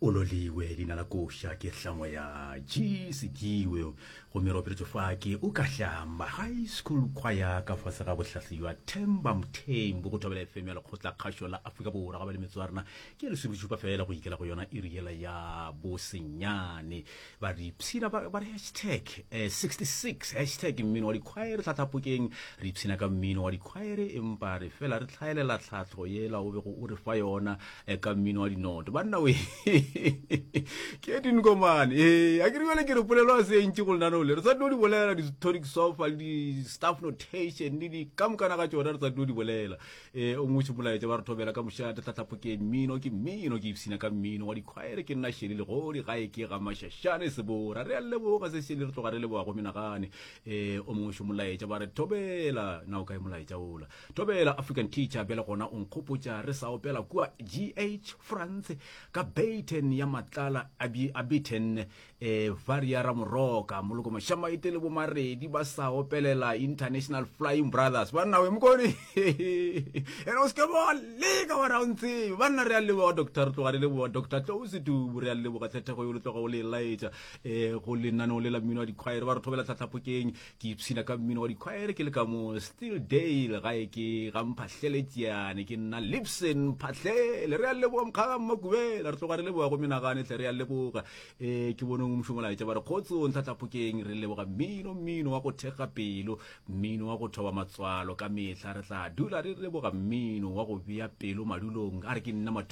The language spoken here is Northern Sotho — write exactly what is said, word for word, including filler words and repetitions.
O loliwe leina la koša ke hlangwa ya G Sediwe gomme re operetšwe fa ke Ukahlamba High School Choir ka fase ga bohlahli bja Themba Mthembu go Thobela F M ya Lekgotla Kgašo la Afrika Borwa. Ga ba le metsotso ya rena ke lesomešupa fela go ikela go yona iri yela ya bosenyane. Ba re ipshina ba ba re hashtag eh, sixty-six hashtag mmino wa dikhwaere tlhatlhapokeng. Re ipshina ka mmino wa dikhwaere empa re fela re tlhaelela tlhahlo yela o bego o re fa yona eh, ka mmino wa dinoto. Banna we ke dinkomane ee a ke re bjale ke re polelo a se ntši go lenaneo le re sa tlo di bolela di-tonic sofa le di-staff notation le di ka mokana ga tšona re sa tlo di bolela. um o ngwe molaetša ba re thobela ka mošate tlhatlhapokeng mmino ke mmino ke ipshina ka mmino wa dikhwaere ke nna Sheli Legodi gae ke ga Mashashane Sebora. Re a leboga se Sheli re tloga re leboga go menagane. um o mongwe molaetša ba re thobela na o kae molaetša ola thobela African teacher bjale gona o nkgopotša re sa opela kua G H France ka Baton ya Matlala a Baton eh Varia Ramoroka Moloko Mashamaite le bomaredi ba sa opelela International Flying Brothers. Banna we mokone ene o se ke ba leka wa ra o ntsebe. Banna re a leboga Doctor re tloga re leboga Doctor Tlou Setubu re a leboga tlhethego yo le tloga o le laetša eh go lenaneo le la mmino wa dikhwaere ba re thobela tlhatlhapokeng. Ke ipshina ka mmino wa dikhwaere ke le ka mo Steeldale gae ke ga Mphahlele ke nna Lipson Mphahlele. Re a leboga mokgaga Mmakubela re tloga re leboga go menagane tle re a leboga. Eh ke boneng mošomo laetša ba re kgotsong tlhatlhapokeng re leboga mmino mmino wa go thekga pelo mmino wa go thoba matswalo ka mehla re tla dula re leboga mmino wa go bea pelo madulong. A re ke nna